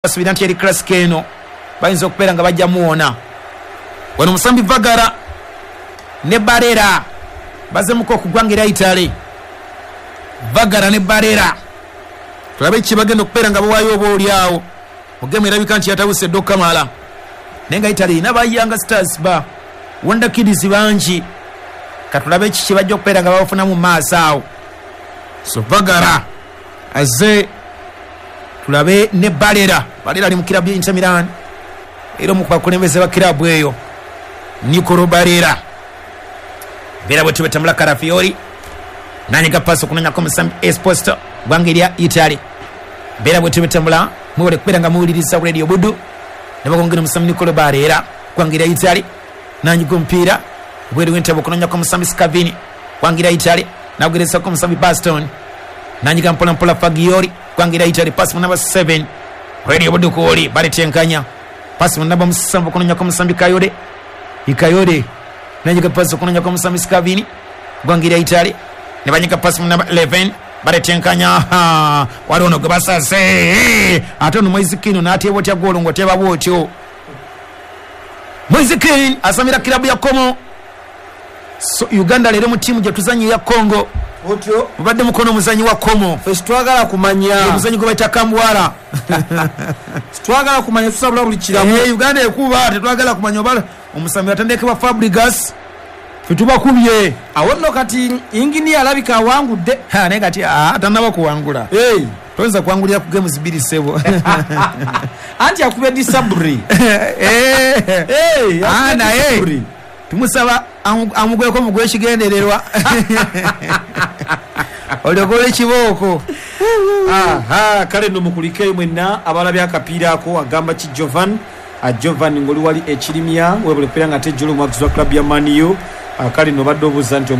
Basuubira nti eri Classico eno bayinza okubeera nga bajja muwona. Wano omusambi Vagara ne Barera bazemuko okugwanga era Italy. Vagara ne Barera tulabe ki bagenda okubeera nga bawaayo oba oli awo mu gemu erabika nti yatabuse dda okukamala, naye nga Italy erina ba Young Stars ba Wonder Kids bangi. Katulabe kiki bajja okubeera nga babafunamu mu maaso awo. So Vagara azze, tulabe ne Barera. Barera ali mu kirabu ya Inter Milan era omu ku bakulembeze ba kirabu eyo, Nicolo Barera. Mbeera bwetyo bwetambula. Calafiori nanyiga paasi okunonyako omusambi Esposto, gwanga erya Italy. Mbeera bwetyo bwetambula. Mwebale kubeera nga muwuliriza Radio Budu. Nebakongera omusambi Nicolo Barera, gwanga erya Italy, nanyiga omupiira obweru w'entebe okunonyako omusambi Scavini, gwanga erya Italy, nagugerezako omusambi Baston, nanyiga mpola mpola Fagioli, gwanga erya Italy. Paasi mu namba 7, Radio Budu kuoli baletenkanya. Paasi mu namba 7 okunonyako omusambi Kayode Ikayode, nanyiga paasi okunonyako omusambi Scavini, gwanga erya Italy, ne banyiga paasi mu namba 11, baletenkanya. Waliwo ono gwe basase, ate ono Moise Kean n'ateeba otya goolo ng'oteeba bwotyo? Moise Kean asamira kirabu ya Como. So Uganda leero mu ttiimu gye tuzannya eya Congo otyo mubadde mukono omuzanyi wa Como, fe sitwagala kumanya. Omuzanyi gwe bayita Kambwala. Sitwagala kumanya, tusabula buli kiramu. Uganda ekuba, tetwagala kumanya oba omusambi atendekebwa Fabregas, fe tubakubye. Awo nno kati inginiya alabika awangudde. Naye kati tanaba kuwangula. Toyinza kuwangulira ku games 2, ssebo. Anti akubye disaburi. Naye tumusaba amugweko mugwe ekigendererwa olyokola ekibooko. Kale nno mukulikeeyo mwenna abalabye akapiira ako. Agamba ki Jovan? Jovan ng'oli wali ekirimya, webule kubeera nga ate jolo omuwagizi wa club ya Man U. Kale nno obadde obuuza nti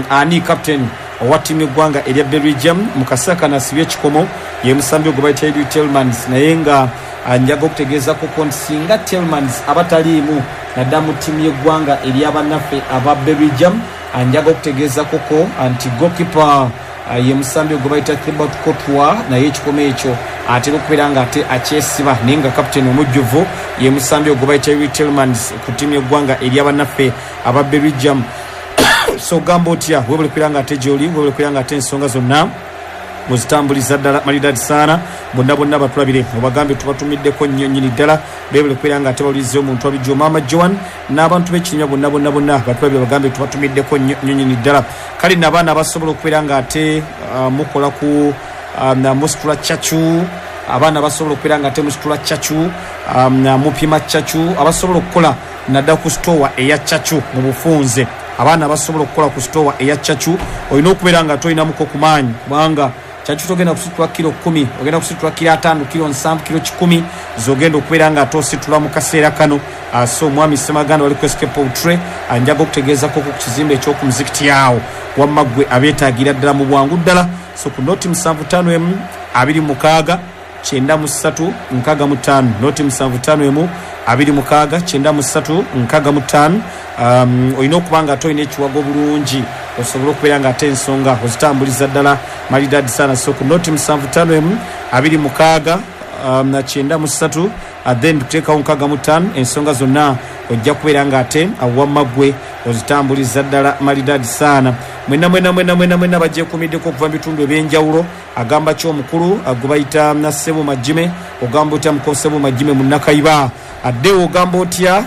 ani captain owa ttiimu y'eggwanga erya Belgium mu kaseera kano asibye ekikomo? Ye musambi ogwo bayita Youri Tielemans, naye nga njaga okutegeezako nti singa Tielemans aba taliimu naddala mu ttiimu y'eggwanga eryabannaffe aba Belgium, njaga okutegeezakoko nti goalkeeper ye musambi ogwo bayita Thibaut Courtois, naye ekikomo ekyo atera okubeera nga ate akyesiba, naye nga kapiteeni omujjuvu ye musambi ogwo bayita Youri Tielemans ku ttiimu y'eggwanga eryabannaffe aba Belgium. So ogamba otya? Webale kubeera nga ate gyoli, webale kubeera nga ate ensonga zonna muzitambuliza ddala malidadi saana. Bonna bonna batulabire, obagambe tubatumiddeko nnyo nnyini ddala. Bebale kubeera nga ate bawuliriza omuntu abijjo maama Joan n'abantu b'ekinywa bonna bonna bonna batulabire, bagambe tubatumiddeko nnyo nnyo nnyini ddala. Kale nno abaana abasobola okubeera nga ate mukola ku musitula cacu, abaana abasobola okubeera nga ate musitula cacu, mupima cacu, abasobola okukola naddala ku sitowa eya cacu mu bufunze, abaana abasobola okukola ku sitowa eya cacu, olina okubeera nga tolinamuko ku maanyi, kubanga cacu togenda kusitula kiro 10, ogenda kusitula kiro 50, kiro 70, kiro 100 zogenda okubeera nga ate ositula mu kaseera kano. So omwami Semaganda wali ku SK Poultry, njaga okutegeezako ku kizimbe eky'oku muzikiti awo, wamma ggwe abeetaagira ddala mu bwangu ddala. So ku noti 751 26 93 65, noti 751 26 93 65. Olina okuba nga ate olina ekiwago bulungi osobole okubeera nga ate ensonga ozitambuliza ddala malidadi sana. So ku noti 751 26 93, then tuteekawo 65, ensonga zonna ojja kubeera nga ate wamma ggwe ozitambuliza ddala malidadi saana. Mwenna mwena mwena mwena mwena bagyekuumiddeko okuva mu bitundu ebyenjawulo. Agamba ki omukulu gwe bayita Nassebo Majime? Ogamba otya muko Ssebo Majime munnakaiba addewo? Ogamba otya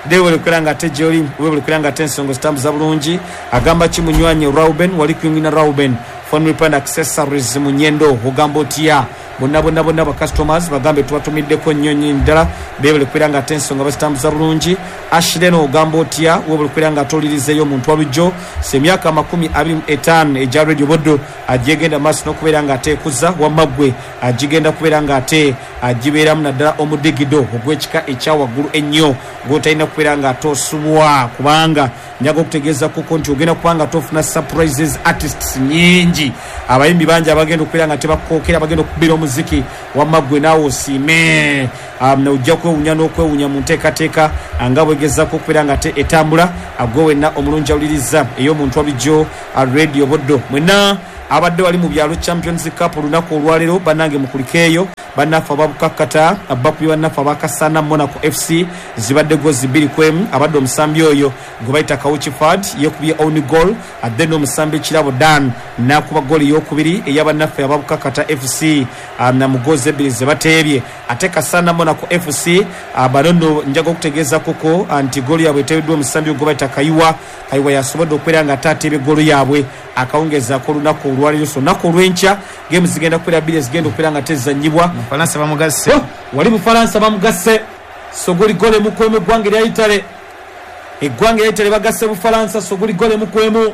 dewole kubeera nga ate gyoli, webale kubeera nga ate ensonga ozitambuza bulungi. Agamba ki munywanyi Rauben wali kwingina Rauben phone repair and accessories mu Nyendo? Ogamba otya? Bonna bonna bonna ba customers bagambe tubatumiddeko nnyo nnyini ddala, beebale kubeera nga ate ensonga bazitambuza bulungi. Ashley ogamba otya? Webale kubeera nga ate olirizeeyo omuntu walujjo. So emyaka 25 egya Radio Buddu agyegenda maaso n'okubeera nga ate ekuza, wamma ggwe agigenda kubeera nga ate agibeeramu naddala omudigido ogw'ekika ekya waggulu ennyo gw'otalina kubeera nga ate osubwa, kubanga njaga okutegeeza kuko nti ogenda kuba nga tofuna surprises, artists nyingi, abayimbi bangi abagenda okubeera nga tebakookera, abagenda okukubira omuziki, wamma ggwe naawe osiime. Ojja kwewunya n'okwewunya mu nteekateeka nga bwegezaako okubeera nga ate etambula. Gwe wenna omulungi awuliriza ey'omuntu walijjo Radio Buddu, mwenna. Abadde wali mu byalo Champions Cup olunaku olwaleero, bannange mukulikeeyo. Bannaffe ababukakkata bakubye bannaffe abakasana Monaco FC, zibadde gozi 2-1. Abadde omusambi oyo gwe bayita Kauchi Fad yekubye own goal, ate n'omusambi Kirabo Dan n'akuba goal eyokubiri ey'abannaffe ababukakkata FC na mu gozi 2 ze bateebye. Ate Kasana Monaco FC bano nno njaga okutegeeza koko nti goal yaabwe eteebeddwa omusambi gwe bayita Kayiwa. Kayiwa yasobodde okubeera nga ate ateebye goal yaabwe akawungezaako olunaku olwaleero. So olunaku olw'enkya gemu zigenda kubeera 2 ezigenda okubeera nga tezannyibwa. Bufalansa bamugasse. Wali Bufalansa bamugasse. Sogoli gole mukwemu eggwanga erya Italy. Eggwanga erya Italy bagasse Bufalansa sogoli gole mukwemu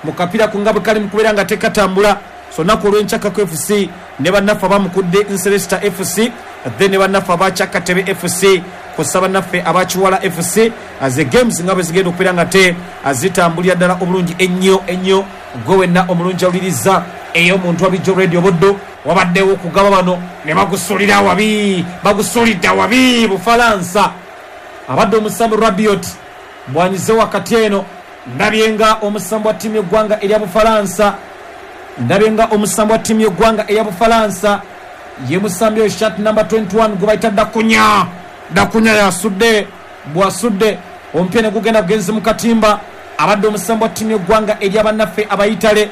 mu kapiira ku nga bwe kali mu kubeera nga tekatambula. So olunaku olw'enkya Kako FC ne bannaffe abamukudde Nselesta FC, then ne bannaffe aba Kyakatebe FC kw'ossa bannaffe aba Kiwala FC. Ze games nga bwe zigenda okubeera nga te zitambulira ddala obulungi ennyo ennyo. Gwe wenna omulungi awuliriza ey'omuntu abijjo Radio Buddu, wabaddewo okugaba bano ne bagusulira wabi, bagusulidde wabi Bufalansa. Abadde omusambi Rabiot bwanyize wakati eno, ndabye nga omusambi wa ttiimu y'eggwanga erya Bufalansa, ndabye nga omusambi wa ttiimu y'eggwanga erya Bufalansa ye musambi oyo shirt number 21 gwe bayita Dakunya. Dakunya yasudde, bwasudde omupiira ne gugenda bugenzi mu katimba. Abadde omusambi wa ttiimu y'eggwanga erya bannaffe abayitale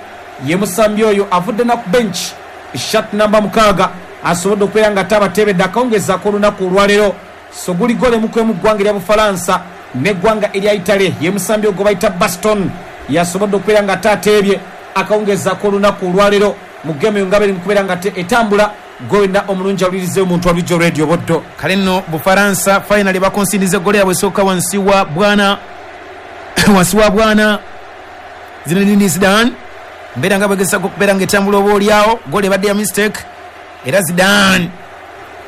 ye musambi oyo avudde na ku bench shirt number 6 asobodde okubeera nga tabateebedde akawungezaako olunaku olwaleero. So guli gole mukwemu ggwanga erya Bufalansa n'eggwanga erya Italy ye musambi ogwo bayita Baston yasobodde okubeera nga taateebye akawungezaako olunaku olwaleero mu gemu eyo nga beri mu kubeera nga etambula. Gwe wenna omulungi awulirize omuntu alijjo Radio Buddu. Kale nno Bufalansa finally bakonsindiza eggolo yaabwe esooka wansi wa bwana wansi wa bwana Zinedine Zidane. Mbeera nga bwegezaako okubeera nga etambula oba oliawo, goal ebadde ya mistake era Zidane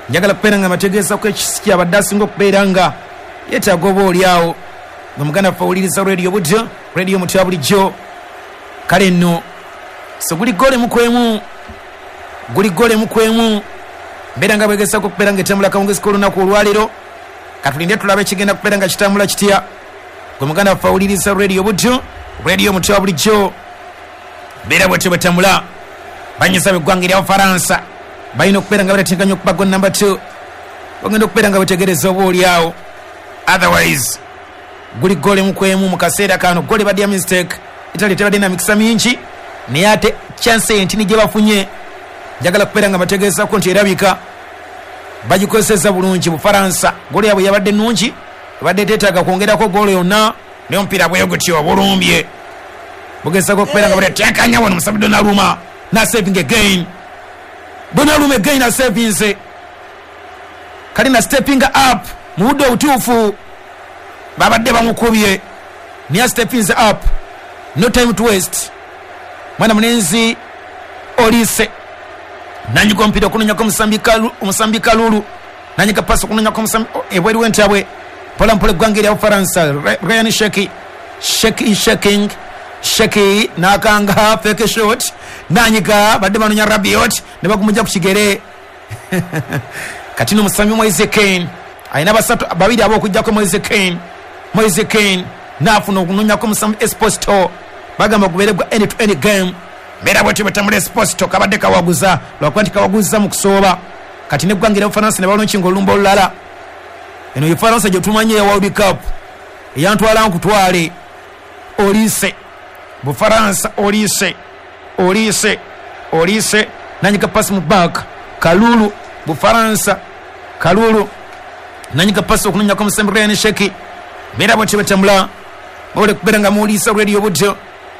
njagala kubeera nga mbategeezako ekisi kyabadde asinga okubeera nga yeetaaga oba oliawo. Gwe muganda waffe awuliriza Radio Buddu, Radio Mutya bulijjo. Kale nno so guli gole mukwemu, guli gole mukwemu. Mbeera nga bwegezaako okubeera nga etambula akawungezi k'olunaku olwaleero. Katulinde tulabe ekigenda kubeera nga kitambula kitya. Gwe muganda waffe awuliriza Radio Buddu, Radio Mutya bulijjo. Mbeera bwetyo bwetambula. Banyiza b'eggwanga erya Bufalansa balina okubeera nga bateteganya okuba goal number 2, bagenda okubeera nga betegereza oba oliawo. Otherwise guli gole mukwemu mu kaseera kano. Gole badde ya mistake, Italy tebadde na mikisa mingi, naye ate chance entini gye bafunye njagala kubeera nga bategeezako nti erabika bagikozesezza bulungi. Bufalansa gole yaabwe yabadde nnungi, ebadde teetaaga kwongerako goolo yonna, naye omupiira bwe gutyo obulumbye bugezaako okubeera nga batetekanya wano. Musambi Donnarumma na saving again, Donnarumma again asavinze, kale na stepping up mu budde obutuufu. Babadde bamukubye naye stepping up, no time to waste. Mwana mulenzi Olise nanyiga omupiira okunonyako omusambi Kalulu, nanyiga pasi okunonyako omusambi ebweru w'entabwe. Mpola mpola eggwanga erya Bufalansa, Ryan Sheki, Sheki shaking Sheki n'akanga fake shot, nanyiga badde banonya Rabiot ne bagumujja ku kigere. Kati n'omusambi Moise Kean alina basatu babiri ab'okuggyako Moise Kean. Moise Kean n'afuna okunonyako omusambi Esposito, bagamba gubeere gwa end to end game. Mbeera bwetyo bwetambula. Esposito kabadde kawaguza lwakuba nti kawaguza mu kusooba. Kati n'eggwanga erya Bufalansa ne balonkinga olulumba olulala. Eno ye Faransa gye tumanyi eya World Cup eyantwala nkutwale. Olise Bufalansa, Olise, Olise, Olise nanyiga pasi mu back Kalulu. Bufalansa Kalulu nanyiga pasi okunonyako omusambi Ryan Sheki. Mbeera bwetyo bwetambula. Bawole kubeera nga muwuliriza Radio Buddu,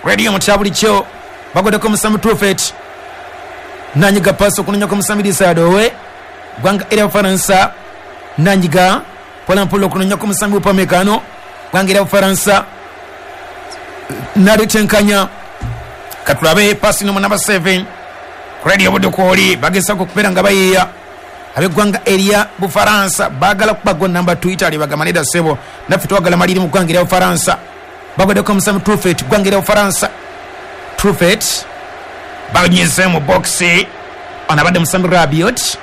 Radio Mutya bulijjo. Bagoddeko omusambi Truffet, nanyiga pasi okunonyako omusambi Disadowe. Ggwanga erya Bufalansa nanyiga mpola mpola okunonyako omusambi Upamecano. Ggwanga erya Bufalansa nalitenkanya. Katulabe pasi nomu namba 7 Radio Buddu kwoli bagezaako okubeera nga bayiiya. Ab'eggwanga erya Bufalansa baagala kuba goal number 2. Italy bagamba nedda ssebo, naffe twagala maliri mu ggwanga erya Bufalansa. Bagoddeko omusambi Truffet, ggwanga erya Bufalansa. Truffet banyize mu boxi, ono abadde musambi Rabiot.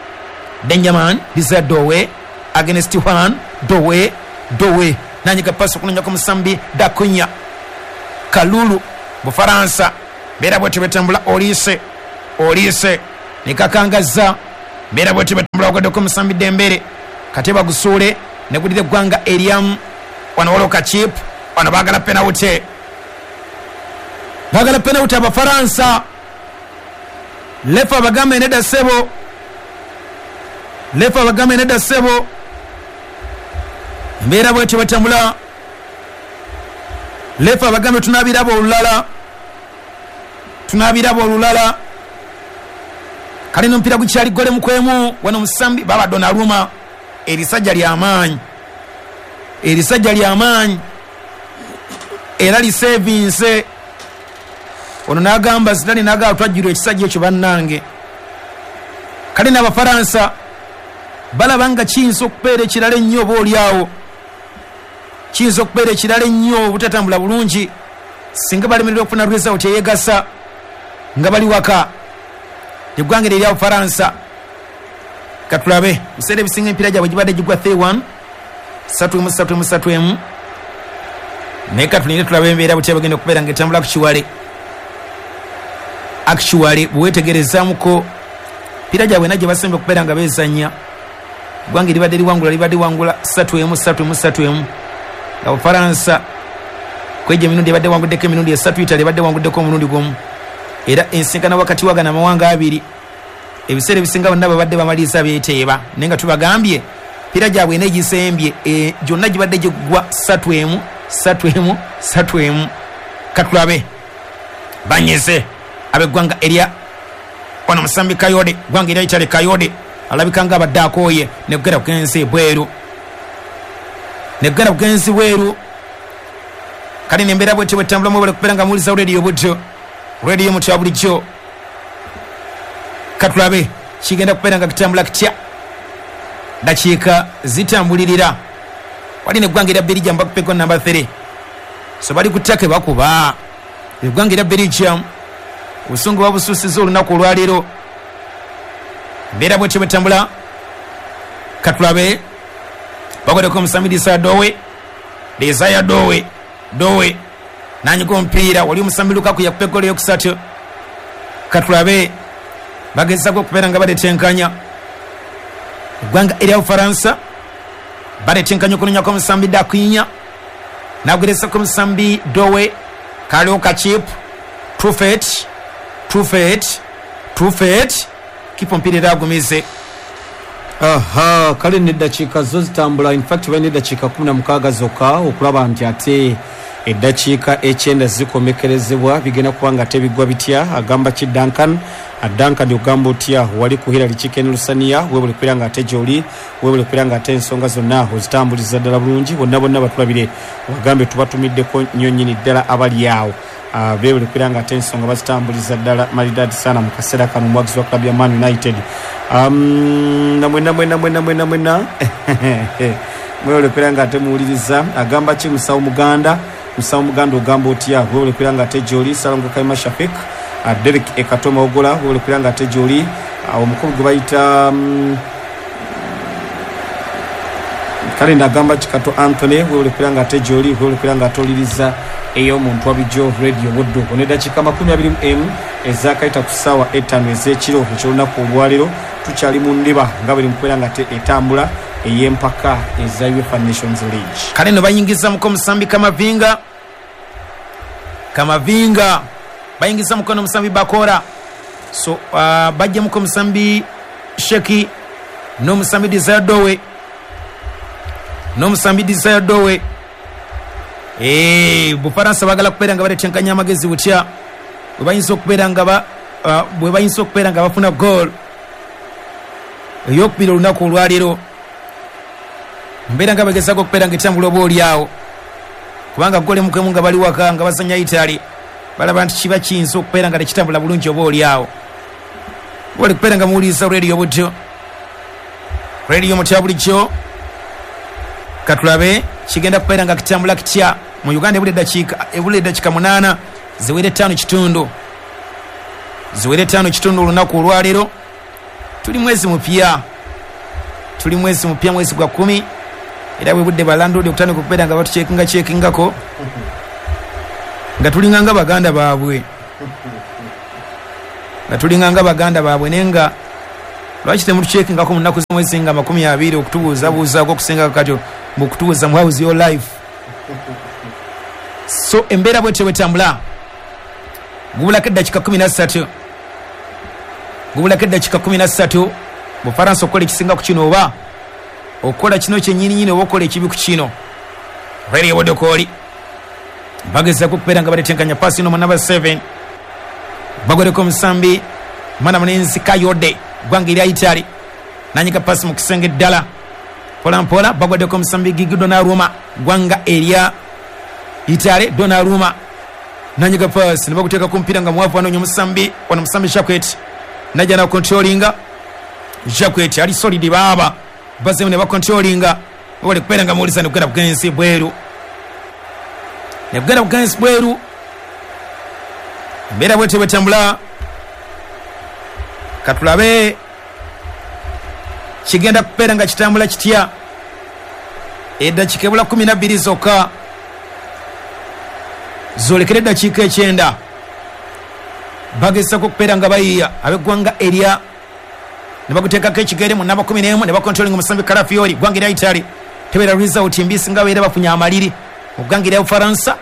Benjamin Desire Dowe against Juan Dowe, Dowe nanyiga pasi okunonyako omusambi Dakunya. Kalulu Bufalansa Mbeera bwetyo bwetambula Olise, Olise nekakangazza. Mbeera bwetyo bwetambula wagaddeko omusambi Dembele, kate bagusuule negudira eggwanga eryamu. Wano waliwo kachip, wano baagala penawute, baagala penawute Abafaransa. Lefa abagambe nedda ssebo, lefa abagambe nedda ssebo. Mbeera bwetyo bwetambula, lefa abagambe tunabiraba olulala, tunabiraba olulala. Kale n'omupiira gukyali gole mukwemu. Wano musambi baba Donnarumma, erisajja lyamaanyi, erisajja lyamaanyi era lisevinse. Ono n'agamba Zidane, n'agamba twajjirwa ekisajja ekyo bannange. Kale n'Abafaransa balaba nga kiyinza okubeera ekirala ennyo oba oliawo, kiyinza okubeera ekirala ennyo obutatambula bulungi singa balemererwa okufuna result eyegasa nga bali waka. Eggwanga eryo erya Bufaransa katulabe biseera ebisinga emipiira gyabwe gibadde gigwa 3-1, 3-1, 3-1, 3-1. Naye katulinde tulabe embeera butya bagenda okubeera nga etambula ku kiwale. Actually bwewetegerezaamuko emipiira gyabwe na gye basemba okubeera nga beezannya, eggwanga eribadde liwangula libadde liwangula 3-1, 3-1, 3-1. Nga Bufaransa kwegyo emirundi ebadde ewanguddeko emirundi esatu, Italy ebadde ewanguddeko omulundi gumu. Era ensinkana wakati wagano amawanga abiri ebiseera ebisinga bonna babadde bamaliriza beeteeba, naye nga tubagambye emipiira gyabwe ena egisembye gyonna gibadde giggwa 3-1, 3-1, 3-1. Katulabe banyeze ab'eggwanga erya wano musambi Kayode, ggwanga erya Italy. Kayode alabika nga abadde akooye negera bugenzi bweru, negera bugenzi bweru. Kale nembeera bwetyo bwetambula mwebale kubeera nga muwuliza rediyo butyo, rediyo mutya bulijjo. Katulabe kigenda kubeera nga kitambula kitya, dakiika zitambulirira. Wali neggwanga erya Belgium bakupeko namba 3, so bali ku ttaka bakuba eggwanga erya Belgium. Obusungu babususiza olunaku olwaleero. Mbeera bwetyo bwetambula. Katulabe bagodeko omusambi Desire Dowe, Desire Dowe, Dowe nanyiga omupiira. Wali omusambi Lukaku yakupa eggolo eyokusatu. Katulabe bagezaako okubeera nga baletenkanya eggwanga erya Bufaransa, baletenkanya okunonyako omusambi Dakinya, nagerezako omusambi Dowe. Kaliwo kachip, Truffet, Truffet, Truffet, kipa omupiira era agumize. Aha, kale neddakiika zo zitambula. In fact balina eddakiika 16 zokka okulaba nti ate eddakiika 9 zikomekerezebwa. Bigenda kuba nga tebigwa bitya. Agamba ki Duncan? Duncan ogamba otya wali ku Hillary Chicken Lusania? Webale kubeera nga ate gy'oli, webale kubeera nga ate ensonga zonna ozitambuliza ddala bulungi. Bonna bonna batulabire obagambe tubatumiddeko nnyo nnyini ddala abali awo. Beebale kubeera nga ate ensonga bazitambuliza ddala maridadi sana mu kaseera kano, omuwagizi wa club ya Man United. Namwena mwena mwena mwena mwena mwebale kubeera nga ate muwuliriza. Agamba ki Musawo Muganda? Musawo Muganda ogamba otya? Webale kubeera nga ate gy'oli. Salongo Kaima Shafik, Derek Ekatoma Ogola, webale kubeera nga ate gy'oli. Omukulu gwe bayita kale nagamba Kikato Anthony, webale kubeera nga ate gy'oli, webale kubeera nga ate oliriza ey'omuntu wabijo radio Buddu. Ono eddakiika 21 ezakayita ku ssaawa 5 ez'ekiro eky'olunaku olwaleero, tukyali mu ndiba nga buli mukubeera nga ate etambula ey'empaka eza UEFA Nations League. Kale no bayingiza muko omusambi Kamavinga, Kamavinga bayingiza mukono omusambi Bakora. So bajja muko omusambi Sheki n'omusambi Desire Dowe, n'omusambi Desire Dowe. Bufaransa bagala kubeera nga baletenkanya amagezi butya bwe bayinza okubeera nga bwe bayinza okubeera nga bafuna goal eyokubiri olunaku olwaleero. Mbeera nga bagezaako okubeera nga etambula oba oliawo, kubanga gole mukwemu nga bali waka nga bazanya Italy, balaba nti kiba kiyinza okubeera nga tekitambula bulungi oba oliawo. Bali kubeera nga muwuliriza rediyo butyo, rediyo mutya bulijjo. Katulabe kigenda kubeera nga kitambula kitya mu Uganda. Ebula eddakiika 8 ziwere 5:15, ziwere 5:15 olunaku olwaleero. Tuli mwezi mupya, tuli mwezi mupya, mwezi gwa 10. Era bwe budde balandodi okutandika okubeera nga batucekinga cekingako nga tulinganga baganda baabwe. Nga tulinga nga baganda baabwe, naye nga lwaki temutukyekingako mu nnaku z'omwezi nga 20 okutubuuzabuuzaako okusinga kati mukutubuuza mu how's your life. So embeera bwetyo bwetambula. Gubulako eddakiika 13, gubulako eddakiika 13 Bufaransa okukola ekisinga ku kino, oba okukola kino kyennyininyini, oba okukola ekibi ku kino. Reri Odokooli bagezaako okubeera nga baletenkanya paasi ino mu namba 7, bagwereko omusambi mwana mulenzi Kayode ggwanga erya Italy, nanyiga paasi mu kisenge ddala mpolampola, bagweddeko omusambi Gigi Donnarumma ggwanga erya Italy. Donnarumma nanyiga paasi ne baguteeka ku mupiira nga muwavu, anoonya omusambi wano, omusambi Jacquet najja nakontrolinga. Jacquet ali solid baaba bazemu ne bakontrolinga, bali kubeera nga muwuliza nekugenda bugenzi bweru, nekugenda bugenzi bweru. Embeera bwetyo bwetambula, katulabe kigenda kubeera nga kitambula kitya. Eddakiika ebula 12 zokka zolekera eddakiika 9, bagezako okubeera nga bayiiya ab'eggwanga erya ne baguteekako ekigere mu namba 11 ne bakontrolinga omusambi Calafiori ggwanga erya Italy. Tebeera result mbi singa babeera bafunye amaliri mu ggwanga erya Bufaransa.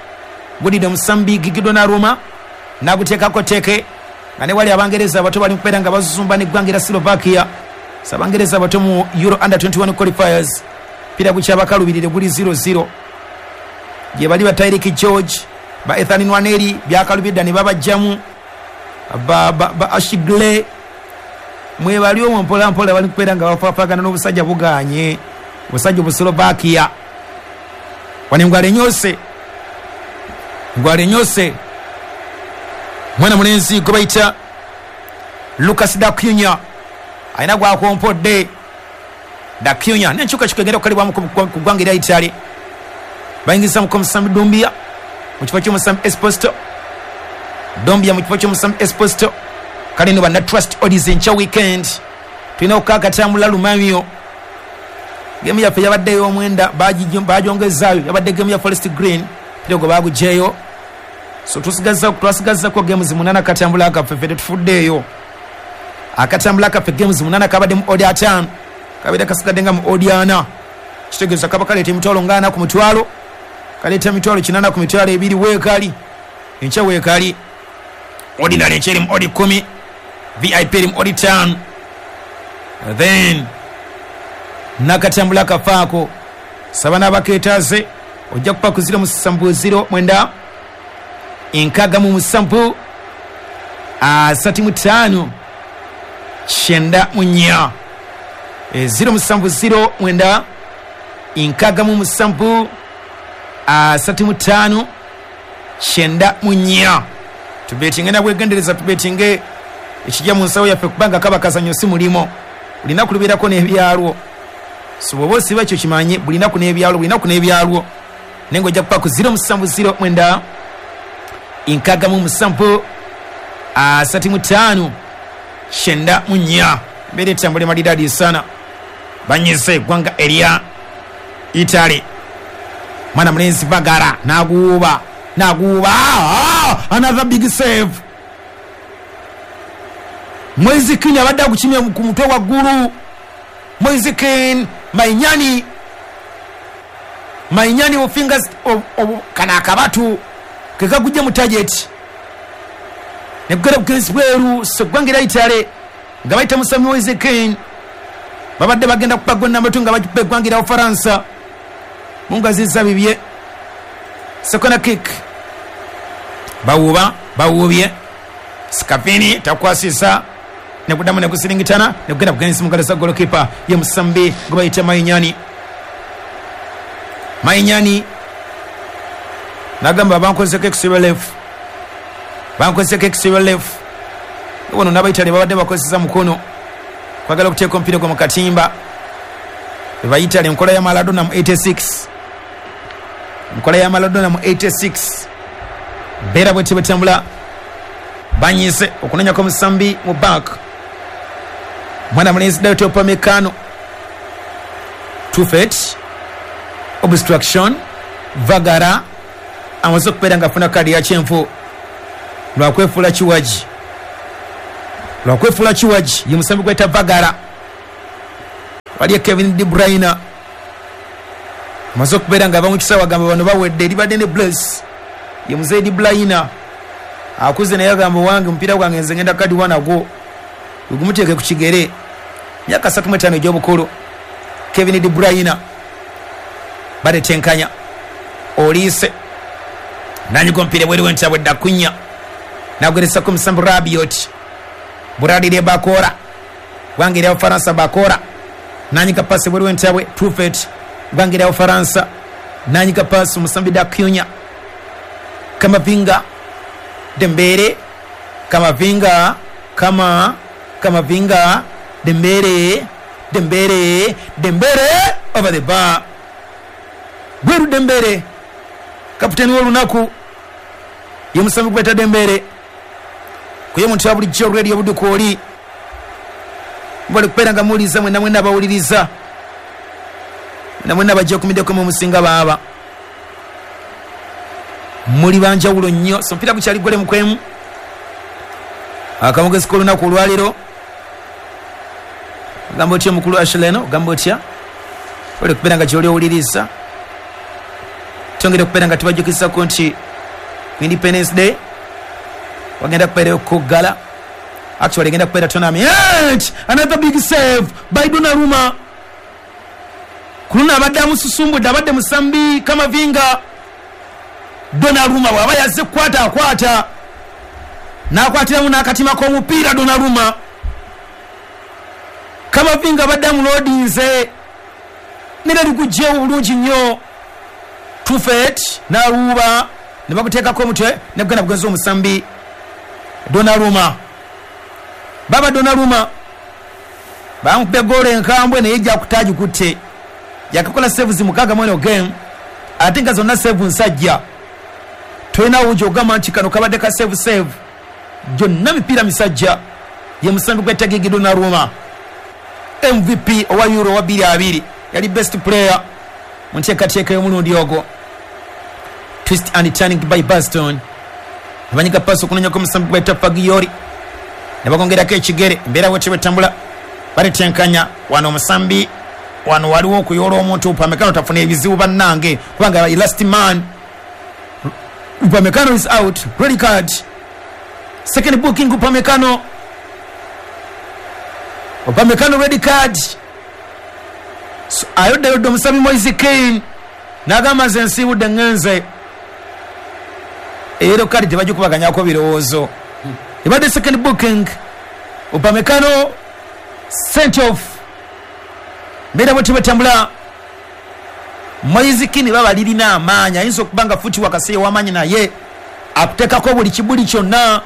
Gudidde omusambi Gigi Donnarumma n'aguteekako teke, nga ne wali Abangereza abato bali mukubeera nga bazumba n'eggwanga erya Slovakia. So Abangereza abato mu Euro under 21 qualifiers, pira gukyabakalubirire, guli 0-0. Gye bali ba Tyrick George, ba Ethan Nwaneri byakalubye dda ne babajjamu, ba Ashigle mwebali omwo mpola mpola bali kubeera nga bafaafagana n'obusajja buganye, obusajja Obuslovakia. Wano engwala enyose, engwala enyose mwana mulenzi gwe bayita Lucas Dacunya alina gwakompodde. Dacunya n'enkyukakyuka egenda okukolebwamu ku ggwanga erya Italy, bayingizamuko omusambi Dumbia mu kifo ky'omusambi Esposito, Dumbia mu kifo ky'omusambi Esposito. Kale no banna Trust Odds, enkya weekend tulina okukakatambula lumamyo. Gemu yaffe yabadde ey'omwenda, bagyongezaayo, yabadde gemu ya Forest Green, pira gwe bagugyeyo. So twasigazzako games 8 akatambula kaffe, ffe tetufuddeeyo. Akatambula kaffe games 8 kabadde mu odi 5, kabeera kasigadde nga mu odi 4, kitegeeza kaba kaleeta emitwalo nga 4 ku mutwalo, kaleeta emitwalo 8 ku mitwalo 2. Weekali enkya, weekali ordinary enkya eri mu odi 10, VIP eri mu odi 5. Then nakatambula kafaako saba n'abakeetaaze, ojja kupa ku 070 9 67 35 94, 070 9 67 35 94. Tubetinge nabwegendereza, tubetinge ekijja mu nsawo yaffe, kubanga kaba kazanyo si mulimo, buli naku lubeerako n'ebyalwo. So bw'oba osiba ekyo kimanye, buli naku n'ebyalwo, buli naku n'ebyalwo. Naye nga ojja kupa ku 070 9 67 35 94. Embeera etambula emalidadi sana. Banyize eggwanga erya Italy, mwana mulenzi Bagara naguuba, naguuba, another big save. Moise Kean abadde agukimye ku mutwe waggulu. Moise Kean, Mainyani, Mainyani ofingers kano akabatu kekagujje mu target nekugera bugenzi bweru. So eggwanga erya Italy nga bayita musami Moise Kean babadde bagenda kupa gol namba 2 nga bagikuba eggwanga erya Bufaransa. Mungaziza bibye. Second kick bawuba, bawubye Scavini takwasisa, nekuddamu nekusiringitana nekugenda bugenzi mu ngalo za golokipa ye musambi gwe bayita Mainyani. Mainyani nagamba bankozeko extra left, bankozeko extra left. Wano n'Abaitale babadde bakozesa mukono kwagala okuteeka omupiira gwe mu katimba. Bebayitale enkola ya Maradona mu 86, enkola ya Maradona mu 86. Mbeera bwetyo bwetambula. Banyize okunonyako omusambi mu bank, mwana mulenzi Dayot Upamecano. Tufet obstruction, Vagara amaze okubeera nga afuna kadi ya kyenvu lwakwefuula kiwagi. Lwakwefuula kiwagi ye musambi gweta Vagara. Waliyo Kevin De Bruyne amaze okubeera nga ava mu kisaawe, agamba bano bawedde. Libadde ne Blaise ye muzeeyi De Bruyne akuze, naye agamba wange omupiira gwange nze ngenda kadiwa nagwo gumuteeke ku kigere. Myaka 35 egy'obukulu Kevin De Bruyne. Baletenkanya Oliise nanyiga omupiira ebweru w'entabwe, Dakunya nagweresako omusambi Rabiot. Buralire Bakora, gwanga erya Bufaransa. Bakora nanyiga pasi ebweru w'entabwe. Trufet, gwanga erya Bufaransa, nanyiga pasi omusambi Dakunya. Kamavinga, Dembere, Kamavinga, Kamavinga, Dembere, Dembere, Dembere over the bar. Bweru. Dembere kaputeni w'olunaku ye musambi gweta Dembere. Kuye omuntu wa bulijjo Radio Buduka oli mubali kubeera nga muwuliriza, mwena mwena abawuliriza, mwena mwena bajja okumiddeko mu musinga baaba muli banjawulo nnyo. So omupiira gukyali gole mukwemu. Akamugezi k'olunaku olwaleero, ogamba otya omukulu Ashleno? Ogamba otya? Oli kubeera nga gyoli owuliriza, twongere okubeera nga tubajjukizako nti ku Independence Day wagenda kubeerayo kuggala, actually egenda kubeera tournament. Another big save by Donnarumma. Ku luno abadde amususumbudde, abadde musambi Kamavinga. Donnarumma bw'aba yazze kukwata, akwata n'akwatiramu n'akatima k'omupiira. Donnarumma, Kamavinga abadde amuloodinze nera ligugjewo bulungi nnyo. Trufet n'aluuba ne baguteekako omutwe ne gugenda bugenzi omusambi Donnarumma. Baba Donnarumma bamukubye goolo enkambwe, naye ejja kutagikutte. Yakakola saves 6 mweno game, ate nga zonna save nsajja. Tolina wugi ogamba nti kano kabadde ka save save, gyonna mipiira misajja. Ye musambi gwetta Gigi Donnarumma, MVP owa Euro wa 2020, yali best player mu nteekateeka y'omulundi ogwo. Twist and turning by Baston, nebanyiga pasi okunonyako omusambi gwetta Fagioli ne bagongerako ekigere. Embeera bwetyo bwetambula. Baletenkanya wano omusambi wano, waliwo okuyoola omuntu. Upamecano tafuna ebizibu bannange, kubanga last man Upamecano is out. Red card, second booking. Upamecano, Upamecano red card. So, ayoddayodde omusambi Moise Kean n'agamba nze nsiibudde ŋŋenze. Ero kadi tebagikubaganyako birowoozo, ebadde second booking. Upamecano sent off. Mbeera bwetyo bwetambula. Moise Kean baba lirina amaanyi, ayinza okuba nga futi wakasi ow'amaanyi, naye akuteekako buli kibuli kyonna.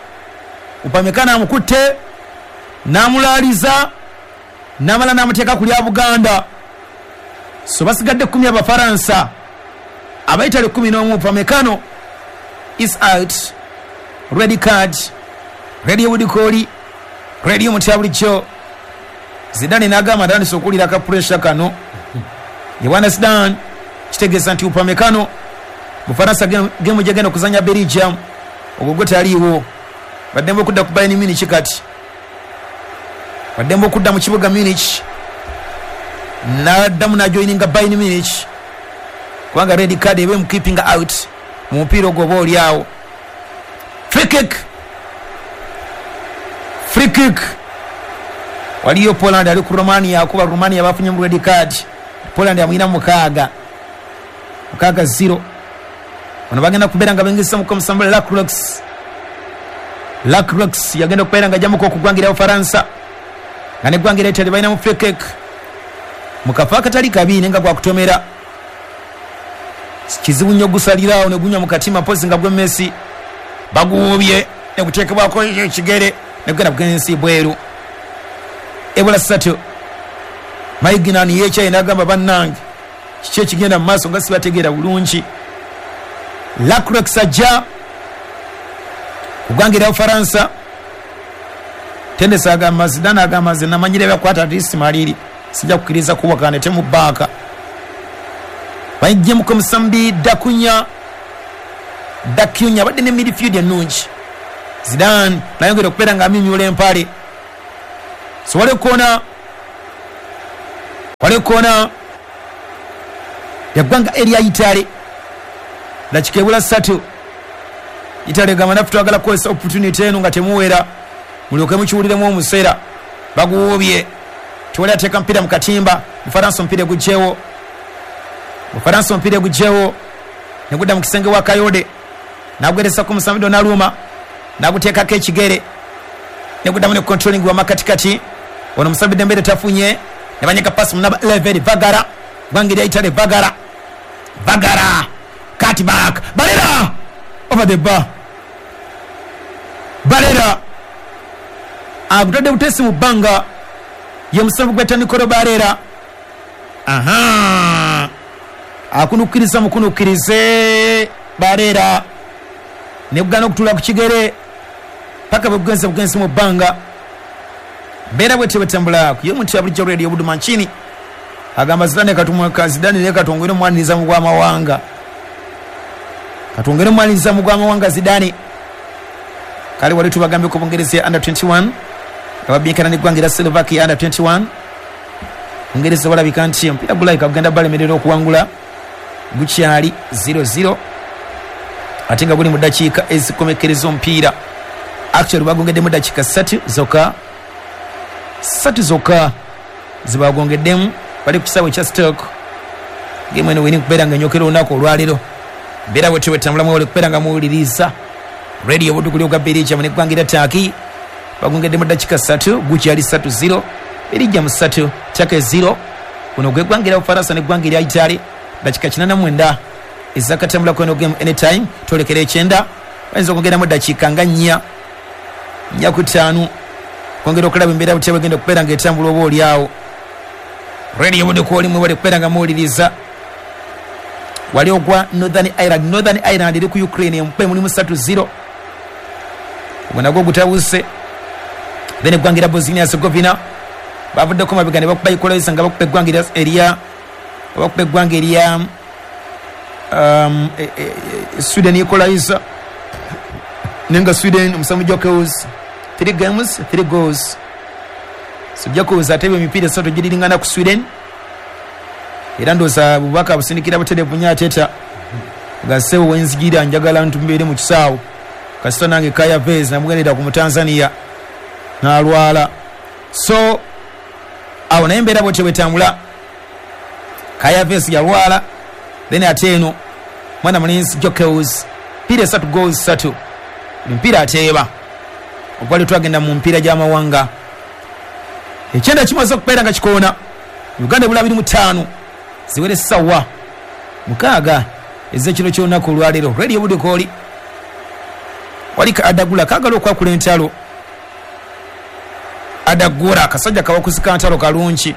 Upamecano amukutte n'amulaaliza n'amala n'amuteeka ku lya Buganda. So basigadde 10 Abafaransa, Abaitale 11. Upamecano is out, red card. Radio Budikoli, Radio mutya bulijjo. Zidane n'agamba atandise okuwulira ka pressure kano. Yebwana Zidane, kitegeeza nti Upamecano, Bufaransa gemu gyegenda okuzanya Belgium ogwo gwe taliiwo. Baddembe okudda ku Bayern Munich, kati baddembe okudda mu kibuga Munich, naddamu najoininga Bayern Munich, kubanga red card eba emukeeping out mu mupiira ogwo oba oli awo. Free kick, free kick. Waliyo Poland ali ku Romania, akuba Romania bafunye mu red card. Poland amwina 6, 6-0. Bano bagenda kubeera nga bengisa mu komusambula Lacroix. Lacroix yagenda okubeera nga ajjamuko okugwangira Bufaransa, nga neggwanga era Italy balina mu free kick mu kafo akatali kabi, naye nga gwakutomera kizibu nnyo gusaliraawo ne gunywa mu katima, mpozi nga gwe Messi. Baguwuubye ne guteekebwako ekigere ne gugenda bugensi bweru. Ebula 3. Maignan yekyaye n'agamba bannange kiki ekigenda mu maaso nga sibategeera bulungi. Lacroix ajja kugwangira Bufaransa. Tendesa agamba, Zidane agamba nze namanyire byakwata ati maliri, sijja kukkiriza kuwakana temubaaka. Bayijjemuko musambi Dakunya. Dakunya abadde ne midfield ennungi. Zidane nayongera okubeera nga amimyula empale. So wale kona, wale kona yaggwanga erya Italy, dakika ebula 3. Italy gamba naffe twagala kukozesa opportunity eno nga temuwera, mulyoke mukiwuliremu omuseera. Baguwubye, tewali ateeka mpira mu katimba. Bufaransa omupiira gugyewo, Bufaransa omupiira gugyewo negudda mu kisenge wa Kayode, nagweresa ku musambi Donnarumma, naguteekako ekigere neguddamu ne controlling wa makatikati. Ono musambi Dembele tafunye, ne banyeka pasi mu namba 11 Vagara, ggwanga erya Italy. Vagara, Vagara cut back, Barella over the bar. Barella agutadde butesi mu bbanga, ye musambi gweta Nicolo Barella. Aha, akunukkiriza mukunukkirize Barella negugana okutuula ku kigere paka bwe bugenze mu bbanga. Mbeera bwetyo bwetambula ku ye muntu ya bulijjo Radio Buduma nchini. Agamba Zidane katumweka, Zidane ne katongere omwaniriza mu gw'amawanga, katongere omwaniriza mu gw'amawanga Zidane. Kale wali tubagambye ku Bungereza ya under 21 ababinkana n'eggwanga erya Slovakia under 21. Bungereza walabika nti omupiira gulabika kugenda balemerera okuwangula, gukyali 0-0 ate nga guli mu ddakiika ezikomekereza omupiira. Actually bagongeddemu ddakiika 3 zokka, 3 zokka zibagongeddemu. Bali ku kisaawe kya Stoke. Game eno werina kubeera nga enyokera olunaku olwaleero. Mbeera bwetyo bwetambulamu, wali kubeera nga muwuliriza Radio Budukuli ogwa Belgium n'eggwanga erya Turkey. Bagongeddemu ddakiika 3, gukyali 3-0, Belgium 3 Turkey 0. Guno gwe ggwanga erya Bufaransa n'eggwanga erya Italy, dakika 89 ezakatambulako eno game anytime. Twolekera 9, bayinza okwongeramu ddakiika nga 4 4 ku 5 kwongera okulaba embeera butya bwegenda okubeera ng'etambula oba oli awo. Radio Budukuli mwebale kubeera nga muwuliriza. Wali ogwa Northern Ireland, Northern Ireland eri ku Ukraine empe mulimu 3-0, ogwo nagwo gutabuse. Then eggwanga erya Bosnia Herzegovina bavuddeko mabega ne bakuba equalizer nga bakuba eggwanga erya bakuba eggwanga erya Sweden equalizer, nenga Sweden omusambi Jokels 3 games 3 goals. So Jokels atebye emipiira 3 giringana ku Sweden, era ndowooza bubaka busindikira butereevu nnyo Arteta nga ssebo wenzigira njagala ntumbeere mu kisaawe, kasita nange Kaya Vez namugendera ku Mutanzania n'alwala. So awo naye embeera bwetyo bwetambula. Kaya Vez yalwala, then ate eno mwana mulenzi Jokels mpiira 3 goals 3, emipiira ateeba. Okwali twagenda mu mpiira gy'amawanga, 9 kimaze okubeera nga kikoona. Uganda ebula 25 ziwere ssaawa 6 ez'ekiro ky'olunaku olwaleero. Radio Budukoli wali Adagula kaagala okwakula entalo. Adagura akasajja kawakusika ntalo kalungi,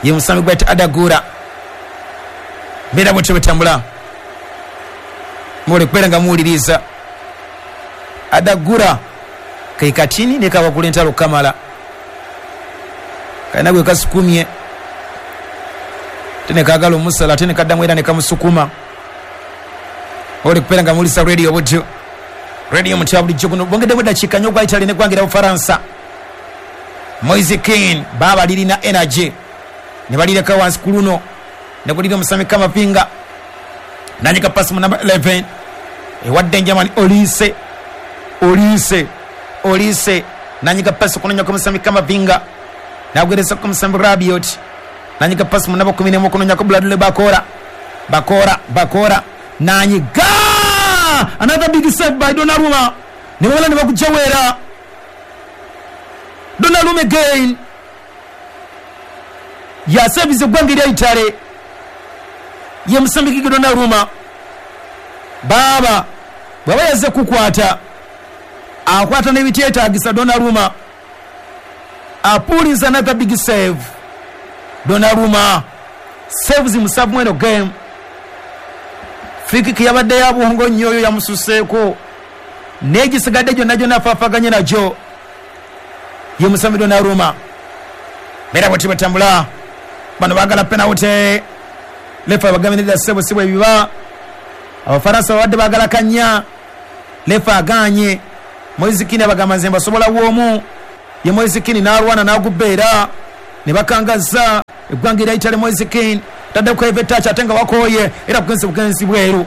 ye musambi gwayita Adagura. Mbeera bwetyo bwetambula, mwole kubeera nga muwuliriza. Adagura ke katini ne kawakula entalo kamala, kalina gwe kasukumye ate ne kaagala omusala ate ne kaddamu era ne kamusukuma. Mwole kubeera nga muwuliriza Radio Budyo, Radio mutya bulijjo. Guno bongeddemu ddakiika nnyo ogwa Italy n'eggwanga erya Bufaransa. Moise Kean baba lirina energy ne balireka wansi ku luno ne gulira omusami Kamavinga, nanyika pasi mu namba 11 ewadde Germany Olise, Olise, Olise nanyika pasi kunonyako omusami Kamavinga, nagweresa ku musambi Rabiot, nanyika pasi mu namba 11 kunonyako Bradley Bakora, Bakora, Bakora nanyiga another big save by Donnarumma, ne bamala ne bakujawera. Donnarumma again yasebiza eggwanga erya Italy, ye musambi Gigi Donnarumma. Baaba bw'aba yazze kukwata akwata n'ebityetaagisa. Donnarumma apuliza another big save. Donnarumma saves 7 mweno game. Free kick yabadde ya buhongo nnyo, oyo yamususeeko n'egisigadde gyonna gyonna afaafaganye nagyo, ye musambi Donnarumma. Mbeera bwetyo bwetambula. Bano baagala penalty, lefa abagambye ssebo si bwe biba. Abafaransa babadde baagala kanya, lefa aganye. Moise Kean abagamba nze mbasobola bw'omu. Ye Moise Kean n'alwana n'agubba era ne bakangaza eggwanga erya Italy. Moise Kean tadde ku heavy touch, ate nga wakooye era bugenzi bugenzi bweru,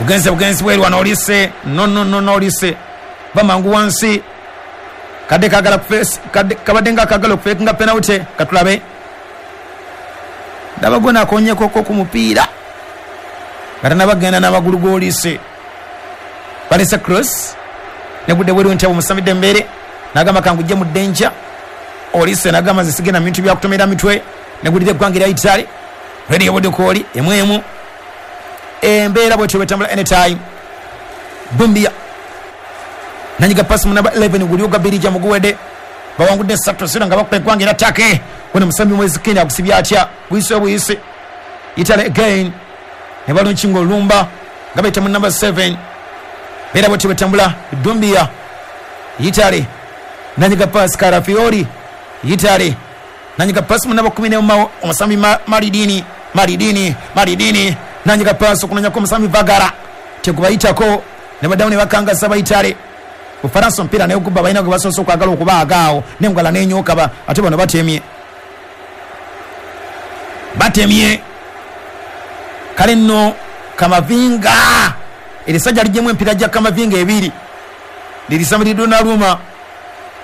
bugenze bugenzi bweru. Wano Olise, no, no, no, no, Olise bamangu wansi, kadde kagala kadde kabadde nga kagala okufakinga penalty. Katulabe, ndaba gwe nakonyekoko ku mupiira nga tanabagenda n'amagulu g'Olise. Balese cross negudde bweru nti abo musamidde embeere nagamba kangujje mu ddenja. Olise nagamba nze sigenda mu bintu byakutomera mitwe, negulira eggwanga erya Italy. Radio Budukooli emu emu, embeera bwetyo bwetambula. Anytime Bumbia nanyiga pasi mu namba 11, guli ogwa Birija muguwedde, bawangudde 3-0 nga bakuba eggwanga era Take. Wano musambi Mwezi Kenya akusibye atya? Buyise obuyise. Italy again ne balunkinga olumba nga bayita mu namba 7. Beera bwetyo bwetambula. Dumbia, Italy nanyiga pasi Karafiori. Italy nanyiga pasi mu namba 11, omusambi Maridini, Maridini, Maridini nanyiga pasi okunonyako omusambi Vagara, tegubayitako ne baddamu ne bakangasa ba Italy. Bufaransa omupiira naye ogubba, balina gwe basoose okwagala okubaagaawo nengwala nenyookaba, ate bano batemye, batemye. Kale nno Kamavinga, erisajja lijjemu empiira gya Kamavinga ebiri, lirisamba Donnarumma,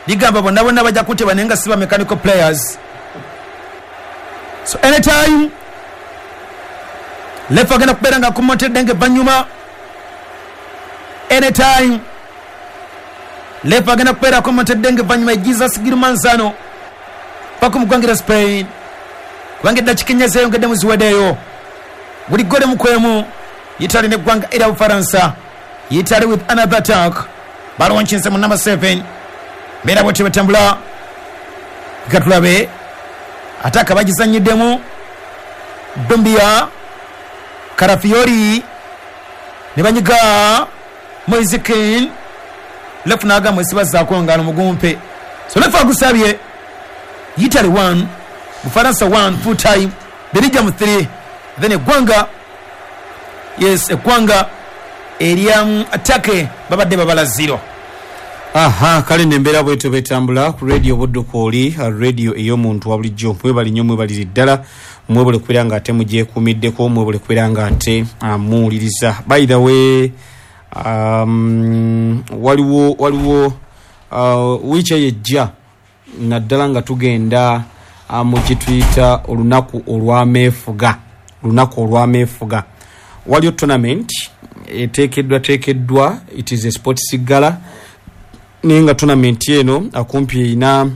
ligamba bonna bonna bajja kuteba naye nga siba mechanical players. So anytime lefa agenda kubeera nga akomontedde nga evanyuma, anytime lefa agenda kubeera akomontedde nga evanyuma. Jesus Gilmanzano paka mu ggwanga erya Spain, kubanga eddakiika 4 zeyongeddemu ziweddeyo. Buli gole mukwemu, Italy neggwanga erya Bufaransa. Italy with another attack, balonkinze mu number 7. Mbeera bwetyo betambula. Katulabe ataka bagizanyiddemu. Dumbia, Karafiori ne banyiga Moise Kean, lefu n'agamba esibazaako ngalo mugumpe, so lefu agusabye. Italy 1, Bufaransa 1, full time. Belgium 3, then eggwanga, yes, eggwanga erya Turkey babadde babala 0. Aha, kale nembeera bwetyo betambula ku Radio Buddukooli, radio ey'omuntu wa bulijjo. Mwebali nnyo, mwebalire ddala, mwebale kubeera nga ate mugyekuumiddeko, mwebale kubeera nga ate muwuliriza. By the way, waliwo wiiki eyo ejja, naddala nga tugenda mu kituyita olunaku olw'ameefuga, olunaku olw'ameefuga, waliyo tournament eteekeddwa teekeddwa. It is a sports gala, naye nga tournament eno akumpi erina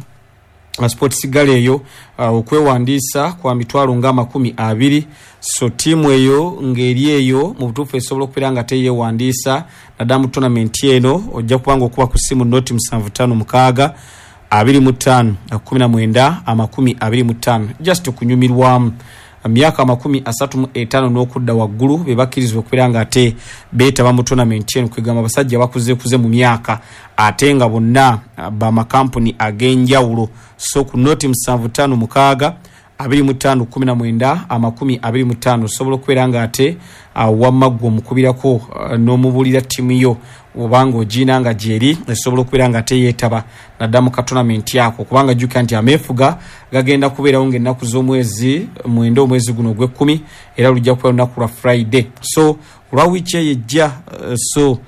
sports gala eyo okwewandiisa kwa mitwalo nga 20,000. So ttiimu eyo ng'eri eyo mu butuufu esobola okubeera nga teyeewandiisa naddala mu tournament eno. Ojja kuba nga okuba ku ssimu 0756 25 19 25, just okunyumirwamu. Myaka 35 n'okudda waggulu be bakkirizibwa okubeera nga ate beetaba mu tournament eno, kwegamba abasajja bakuzeekuze mu myaka, ate nga bonna bamakampuni ag'enjawulo. So ku 0756 25 19 25 osobola okubeera nga ate wamma ggwe omukubirako n'omubuulira ttiimu yo obanga ogiina nga gyeri esobola okubeera nga ate yeetaba naddala mu katournament ako, kubanga jjukira nti ameefuga gagenda kubeerawo ng'ennaku z'omwezi 9 omwezi guno ogw'ekkumi, era lujja kubeera lunaku lwa Friday, so olwa wiiki eyo ejja. So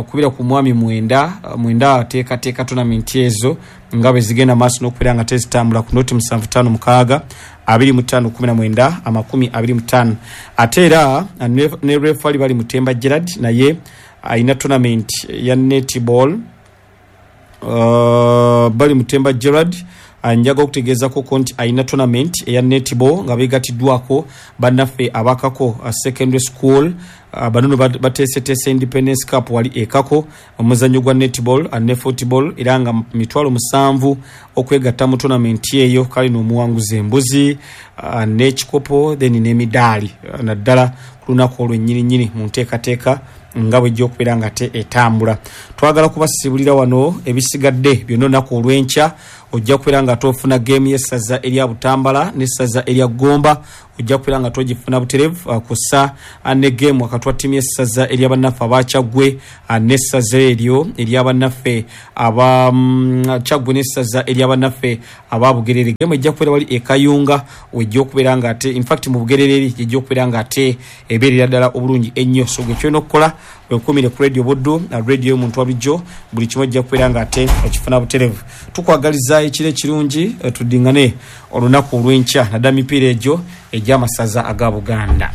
kubira ku mwami Mwenda, Mwenda ateekateeka tournament ezo nga bwe zigenda maaso n'okubeera nga tezitambula, ku 0756 25 19 25. Ate era ne refali bali Mutemba Gerard, naye alina tournament ya netball. Bali Mutemba Gerard, njaga okutegeezako nti alina tournament eya netball nga beegatiddwako bannaffe abakako secondary school. Banono bateeseteese Independence Cup wali ekako, omuzannyo gwa netball ne football, era nga 7,000 okwegatta mu tournament eyo. Kale n'omuwanguzi embuzi n'ekikopo, then n'emidaali, naddala ku lunaku olwo ennyininyini mu nteekateeka nga bwejja okubeera nga te etambula. Twagala kubasibulira wano ebisigadde byonna olunaku olw'enkya. Ojja kubeera nga tofuna geemu y'essaza erya Butambala n'essaza erya Gomba, ojja kubeera nga togifuna buterevu kussa ne geemu wakati wa ttiimu y'essaza eryabannaffe abakyaggwe n'essaza eryo eryabannaffe aba Kyaggwe n'essaza eryabannaffe aba Bugerere. Geemu ejja kubeera wali e Kayunga, wejja okubeera nga ate infact mu Bugerere eri ejja okubeera nga ate ebeerera ddala obulungi ennyo. So gwe kyolina okukola, wekumire ku Radio Buddu, radio y'omuntu wabulijjo, buli kimu ojja kubeera nga ate okifuna buterevu. Tukwagaliza ekiro ekirungi, tuddingane olunaku olw'enkya naddala mipiira egyo egy'amasaza aga Buganda.